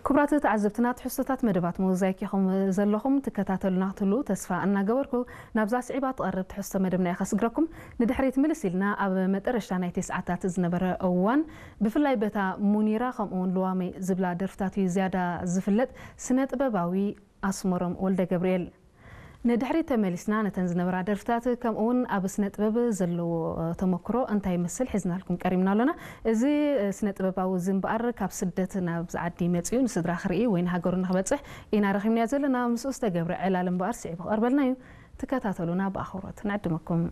ክቡራት ተዓዘብትና፣ ትሕዝቶታት መደባት ሞዛይክ ኢኹም ዘለኹም ትከታተሉና ክትህልዉ ተስፋ እናገበርኩ፣ ናብዛ ስዒባ ትቐርብ ትሕዝቶ መደብና እየ ከስግረኩም። ንድሕሪት ምልስ ኢልና ኣብ መጠረሽታ ናይቲ ሰዓታት ዝነበረ እዋን፣ ብፍላይ በታ ሙኒራ ከምኡ እውን ልዋመይ ዝብላ ደርፍታት እዩ ዝያዳ ዝፍለጥ ስነ ጥበባዊ ኣስመሮም ወልደ ገብርኤል። ንድሕሪት ተመሊስና ነተን ዝነበራ ደርፍታት ከምኡ እውን ኣብ ስነ ጥበብ ዘለዎ ተመክሮ እንታይ ይመስል ሒዝናልኩም ቀሪብና ኣሎና። እዚ ስነ ጥበባዊ እዚ እምበኣር ካብ ስደት ናብዚ ዓዲ መጺኡ ንስድራ ክርኢ ወይ ንሃገሩ ንክበጽሕ ኢና ረኺብናዮ ዘለና። ምስኡ ዝተገብረ ዕላል እምበኣር ስዒቡ ክቐርበልና እዩ። ትከታተሉና ብኣኽብሮት ንዕድመኩም።